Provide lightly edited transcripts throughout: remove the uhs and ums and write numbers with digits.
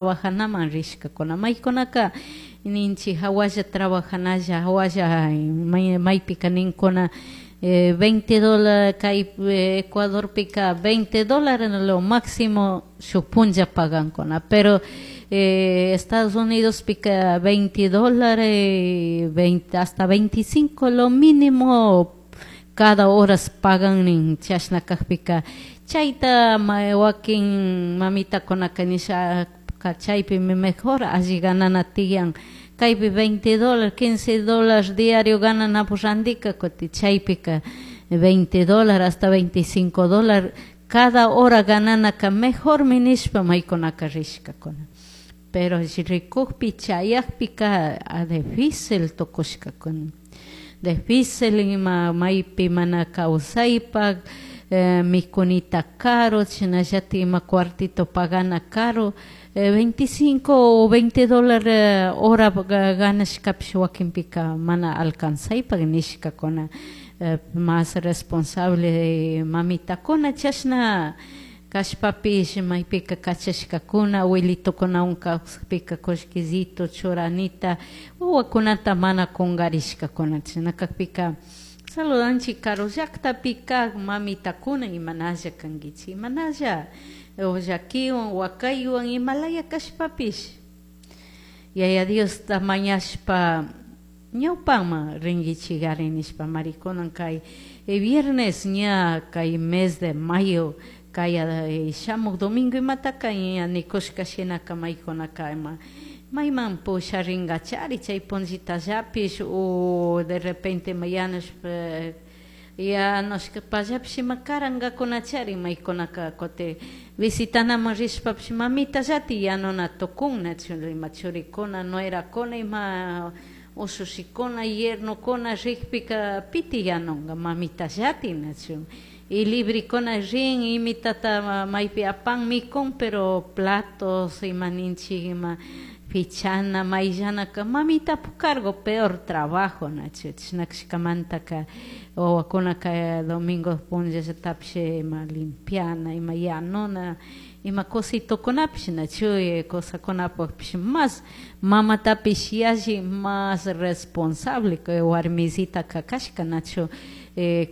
Trabajanaman rishkakuna maykunaka ninchik hawalla trabajanalla hawalla maypika ninkuna 20 dólar, kay Ecuadorpika 20 dólares lo máximo shuk punlla pagankuna, pero Estados Unidospika 20 dólares, 20 hasta 25 lo mínimo cada horas pagan nin. Chashna kakpika chayta wakin mamitakunaka nisha chaypimi mejor alli ganana tiyan, kaypi 20 dólares, 15 dólares diario gananapak randika kutin chaypika 20 dólares hasta 25 dólares cada hora gananaka mejormi nishpa maykunaka rishkakuna. Pero rikukpi chayakpika difícil tukushkakuna, difícil ima maypi mana kawsaypak, mikunita caro, chashnallatik ima cuartito pagana caro, 25 o 20 dólares hora ganashkapish wakinpika mana alcanzaypak nishkakuna más responsable mamitakuna. Chashna kashpapish maypika kachashkakuna abuelitokunawan kawsakpika kullkisito churanita wawakunata mana kungarishkakuna. Chashna kakpika saludanchik karu llaktapi kak mamitakuna, imanalla kankichik, imanalla llakiwan wakaywan imalaya kashpapish Yaya Diosta mañashpa ñawpaman rinkichikari nishpa marikunan kay viernes ña kay mes de mayo kay shamuk domingo imataka ña nikushka shinaka maykunaka ima mayman pusharingachari chay punllitallapish o de repente yanushpa yanushpallapish ima karankakunachari maykunaka kutin visitanaman rishpapish mamitallatik yanuna tukun, nachu ima churikuna, nuerakuna, ima ushushikuna, yernokuna rikpika piti yanunka, mamitallatik, nachu? Y librikuna rin imitata maypi apan mikun, pero platos ima ninchik ima pichana mayllanaka mamitapuk cargo, peor trabajo, nachu? Chashna kashkamantaka wawakunaka domingo punllallatapish ima limpiana, ima yanuna, ima cositokunapish, nachu? Cosacunapukpish mas mamatapish yalli más responsable warmisitaka kashka, nachu?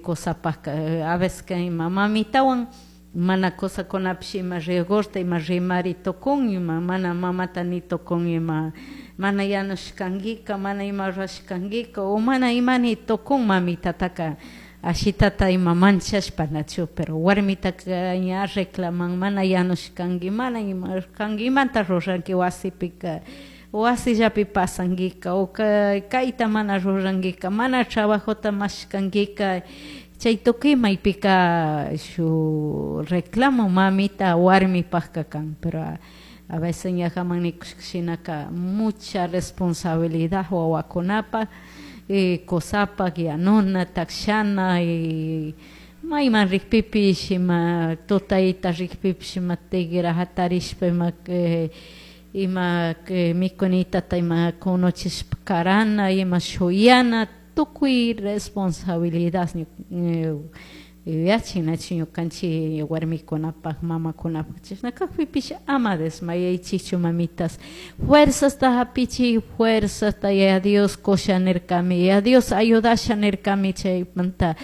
Cosapaka a veces ima mamitawan mana cosakunapish ima rigorta ima rimari tukun, ima mana mamata ni tukun ima mana yanushkankika, mana ima rurashkankika o mana imani tukun mamitataka ashitata ima manchashpa, nachu? Pero warmitaka ña reclaman mana yanushkanki, mana ima kanki, imata ruranki wasipika, wasillapi pasankika o kayta mana rurankika, mana trabajota mashkankika. Chay tukuy maypika shuk reclamo mamita warmipakka kan. Pero a veces ñajaman nikushka shinaka mucha responsabilidad wawakunapak, kusapak yanuna, takshana y mayman rikpipish ima tutayta rikpipish ima tigra hatarishpa ima mikunitata ima kunuchishpa karana, ima shuyana, tukuy responsabilidad yuyachin, nachu, ñukanchik warmikunapak, mamakunapak. Chashna kakpipish ama desmayaychikchu, mamitas, fuerzasta hapichik, fuerzasta. Yaya Dios kusha nirkami, Yaya Dios ayudasha nirkami. Chaymanta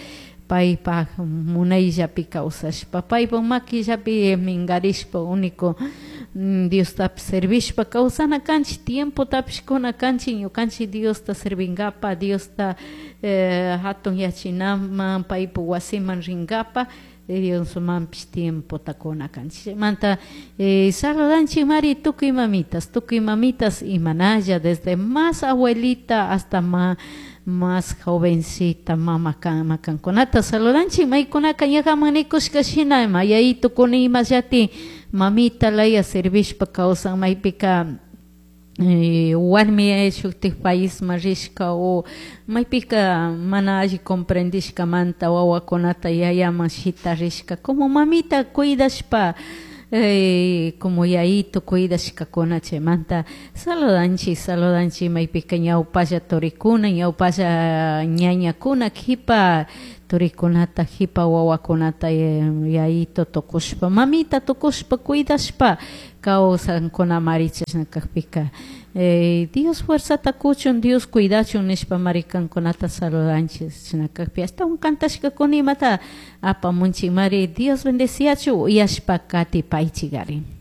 paypak munayllapi kawsashpa, paypak maquillapi mingarishpa, único Diostapish servishpa kawsana kanchik, tiempotapish kuna kanchik ñukanchik Diosta servingapak, Diosta hatun yachinaman, paypak wasiman ringapak, Diosmanpish tiempota kuna kanchik. Chaymanta saludanchik mari tukuy mamitas, tukuy mamitas imanalla, desde más abuelita hasta más jovencita mama kankunata saludanchik. Maykunaka ñajaman nikushka shina ima yayitukuna imallati mamita laya servishpa kawsan, maypika warmi shuktik paisman rishka o maypika mana alli comprendishkamanta wawakunata yayaman shitarishka, como mamita cuidashpa, como yayito cuidashkakuna. Chaymanta saludanchik, saludanchik maypika ñawpalla turikuna, ñawpalla ñañakuna, kipa Turicunata, jipa wawakunata yayito tukushpa, mamita tukushpa, cuidashpa kawsankunamari chashna kakpika. Dios fuerzata kuchun, Dios cuidachun nishpa mari kankunata saludanchik chashna kakpi ashtawan kantashkakuna imata apamunchik mari Dios bendeciachu uyashpa katipaychik ari.